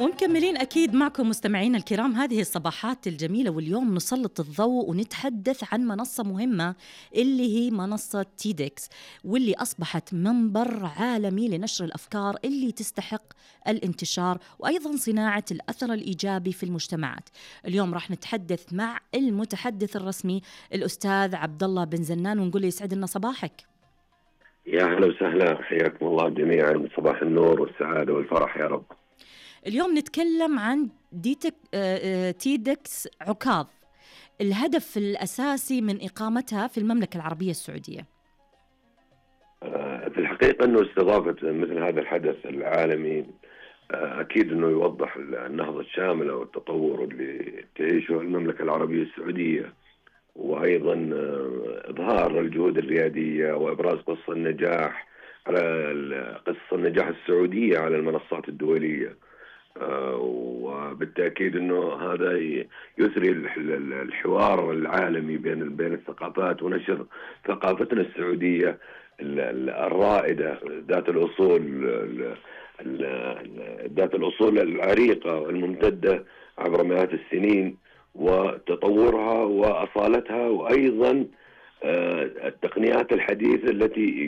ومكملين أكيد معكم مستمعين الكرام هذه الصباحات الجميلة، واليوم نسلط الضوء ونتحدث عن منصة مهمة اللي هي منصة تيدكس، واللي أصبحت منبر عالمي لنشر الأفكار اللي تستحق الانتشار وأيضا صناعة الأثر الإيجابي في المجتمعات. اليوم راح نتحدث مع المتحدث الرسمي الأستاذ عبد الله بن زنان، ونقول يسعد لنا صباحك. يا أهلا وسهلا، حياكم الله جميعا، صباح النور والسعادة والفرح يا رب. اليوم نتكلم عن تيدكس عكاظ، الهدف الأساسي من إقامتها في المملكة العربية السعودية. في الحقيقة أنه استضافة مثل هذا الحدث العالمي أكيد أنه يوضح النهضة الشاملة والتطور اللي تعيشه المملكة العربية السعودية، وأيضا إظهار الجهود الريادية وإبراز قصة النجاح السعودية على المنصات الدولية. وبالتأكيد أنه هذا يثري الحوار العالمي بين الثقافات ونشر ثقافتنا السعودية الرائدة ذات الأصول العريقة والممتدة عبر مئات السنين، وتطورها وأصالتها، وأيضا التقنيات الحديثة التي